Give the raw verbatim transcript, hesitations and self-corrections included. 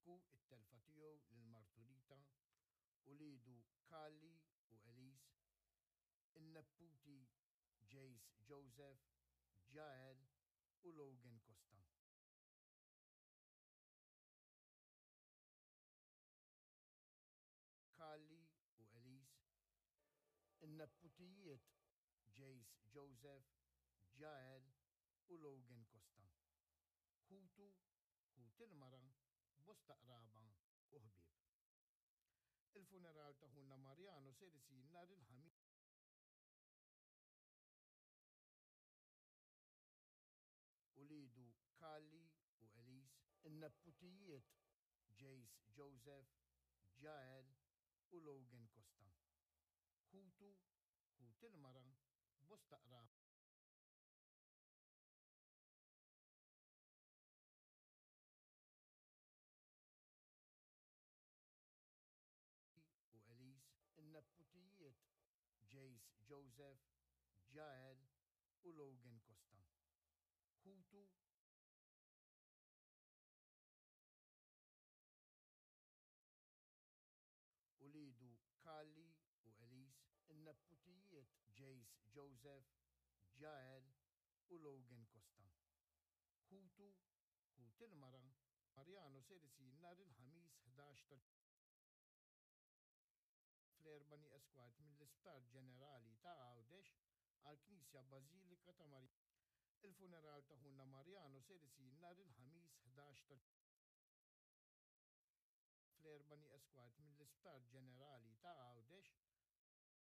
Jibku t-telfa tiegħu lil martu Rita, uliedu Carly u Elise, in-neputi Jace Joseph, Jael u Logan Costa. Carly u Elise, in-neputijiet Jace Joseph, Jael u Logan Costa. Ħutu, ħut il-mara, bosta qraba u ħbieb. Il-funeral ta' ħuna Mariano ser isir nhar il-Ħamis uliedu Carly u Elise, in-neputijiet Jace Joseph, Jael u Logan Costa. Ħutu, ħut il-mara, bosta qraba u Elise, in-neputijiet Jace Joseph, Jael u Logan Costa. Ħutu, uliedu Carly u Elise, in-neputijiet Jace Joseph, Jael u Logan Costa. Ħutu, ħut il-mara, Mariano ser isir nhar il-Ħamis ħdax ta' fl-erba' nieqes kwart mill-Isptar Ġenerali ta' Għawdex għall-Knisja Bażilika ta' Marija. Il-funeral ta' ħuna Mariano ser isir nhar il-Ħamis ħdax ta' fl-erba' nieqes kwart mill-Isptar Ġenerali ta' Għawdex